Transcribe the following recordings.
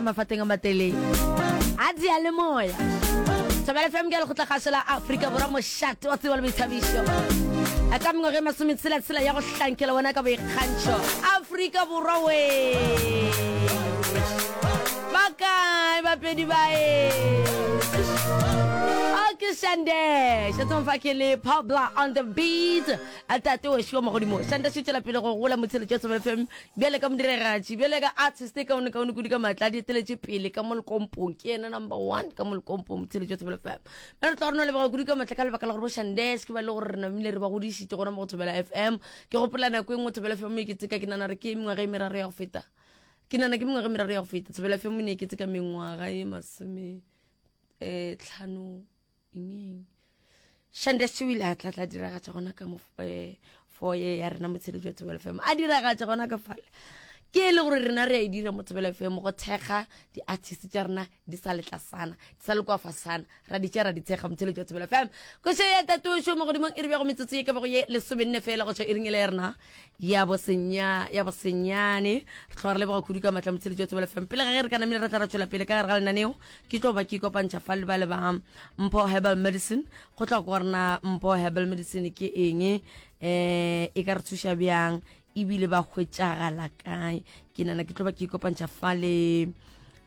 mafateng a matelele a diyalemoya. Thobela FM ke lekgotlakgašo la Afrika Borwa mošate wa tsebo le boithabišo. Ka mengwaga e masometshela-tshela ya go hlankela wena ka boikgantšho. Afrika Borwa we! Ba kae bapedi ba e? Okay, Shandesh. Tsong fa ke le Pabla on the beat. A tate wešo wa magodimo, Shandesh o tšwela pele go gola motsheletšo wa Thobela FM bjale ka modiragatši, bjale ka artist e kaone kaone kudu ka maatla a di eteletše pele ka mo lekompong. Ke yena number one ka mo lekompong motsheletšo wa Thobela FM. Mme re tla re no leboga kudu ka maatla ka lebaka la gore bo Shandesh ke ba le gore re namile re ba godišitše gona mo go Thobela FM. Ke gopola nako e nngwe Thobela FM e ke tseka ke nana re ke mengwaga e meraro ya go feta. Ke nana ke mengwaga e meraro ya go feta. Thobela FM e ne e ke tseka mengwaga e masome eh tlhano eng Shandesh o ile a tla tla diragatša gona ka mo eh, foye ya rena motsheletši wa Thobela FM a diragatša gona ka fale ke e le gore rena re a e dira mo Thobela FM go thekga di-artist tša rena di sa letlasana di sa le kwa fasana ra di tša ra di thekga motsheletši wa Thobela FM koše ya tatošo mo godimong e re bjago metsotso ye ka bago ye lesomenne fela go tšwa iring ele ya rena ya bosenya ya bosenyane re tloga re leboga kudu ka matla motsheletši wa Thobela FM pele ga ge re ka namile re tla ra tšwela pele ka gare ga lenaneo Ke tlo ba ke ikopantšha fa le ba le ba Mpho Herbal Medicine go tla go rena Mpho Herbal Medicine ke eng eh e ka re thuša bjang ebile ba hwetšagala kae ke nana ke tlo ba ke ikopantšha fa le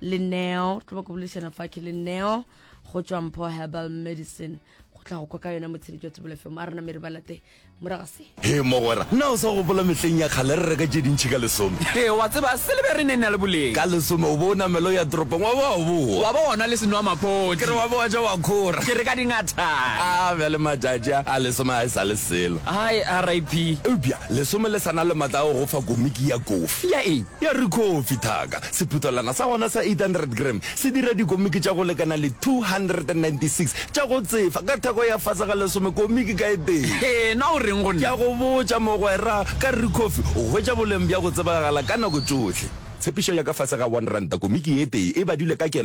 le Neo tlo ba ke boledišana fa ke le Neo go tšwa Mpho Herbal Medicine go tla go kwa ka yona motsheletši wa Thobela FM a rena mere ba late morago se. Hee mogwera, na o sa gopola mehleng ya kgale re reka tše dintši ka lesome? Hee wa tseba, silibere e ne e na le boleng. Ka lesome o bo o namela o ya toropong wa ba wa boa. Wa ba wa nwa le senwamaphodi. Ke re wa ba wa ja wa khora. Ke re ka dingathane. A bjale matšatši a, a lesome ga e sa le selo. Hai RIP. Eupša lesome le sa na le matla a go go fa komiki ya kofi. Ya eng? Ya Ricoffy, thaka. Sephuthelwana sa gona sa 800 gram se dira dikomiki tša go lekana le 296 tša go tsefa ka theko ya fase ga lesome komiki ka e tee. Hee, na o reng go Ke nna? a go botša, mogwera, ka Ricoffy o hwetša boleng bja go tsebagala ka nako tšohle. Tshepišo ya ka fase ga R1 komiki e tee e badilwe ka kelo.